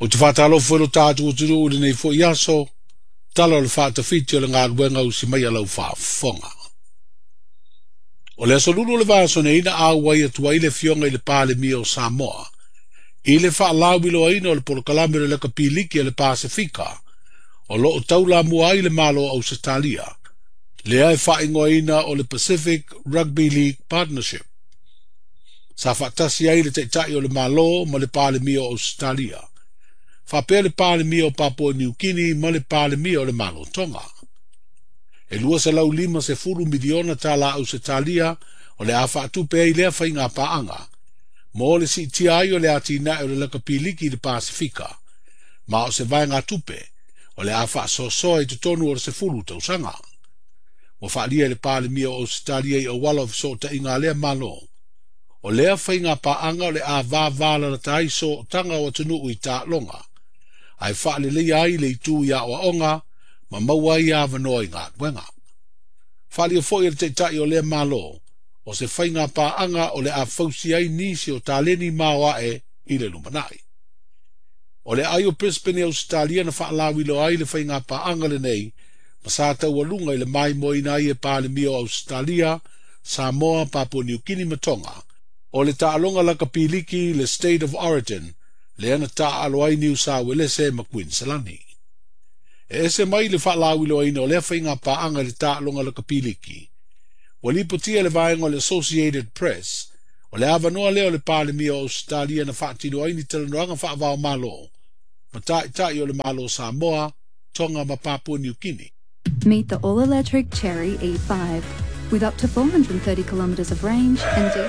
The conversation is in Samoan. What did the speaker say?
Ou te faatalofa foi lo tatou atunuu i lenei foi aso, tala o le faatafiti o le galuega usi mai a lau faafofoga. O le aso Lulu o le vaiaso nei na auai atu ai le afioga i le Palemia o Samoa i le faalauiloaina o le polokalame o le Leka Piliki a le Pasefika o lo o taulamua ai le Malo o Ausetalia, lea e faaigoaina o le Pacific Rugby League Partnership. Sa faatasi ai le Taitai o le Malo ma le Palemia o Ausetalia, faapea le Palemia o Papua Niu Kini ma le Palemia o le Malo Tonga. E $250 miliona tala Ausetalia o le a faatupe ai lea faiga paaga, mo le siitia ai o le atinae o le Leka Piliki i le Pasefika, ma o se vaegatupe o le a faasoasoa i totonu o le 10 tausaga. Ua faaalia e le Palemia o Ausetalia i auala o fesootaiga a lea Malo, o lea faiga paaga o le a vavalalata ai sootaga o atunuu i taaloga, ae faaleleia ai le itu i aoaoga ma maua ai avanoa i galuega. Faaalia foi e le Taitai o lea Malo, o se faiga paaga o le a fausia ai nisi o taleni maoae i le lumanai. O le aai o Brisbane i Ausetalia na faalauiloa ai le faiga paaga lenei ma sa taualuga i le maimoaina ai e Palemia o Ausetalia, Samoa, Papua Niu Kini ma Tonga, o le taaloga laka piliki le State of Origin lea na taaalo ai Niu Sa Uelese ma Kuiniselani. E ese mai le faalauiloaina o lea faiga paaga i le taaloga laka piliki. Ua lipotia le vaega o le Associated Press, o le avanoa lea o le Palemia o Ausetalia na faatino ai ni talanoaga faava-o-Malo ma taitai o le Malo Samoa, Tonga ma Papua Niu Kini. Meet the all-electric Chery E5 with up to 430 kilometers of range and diesel.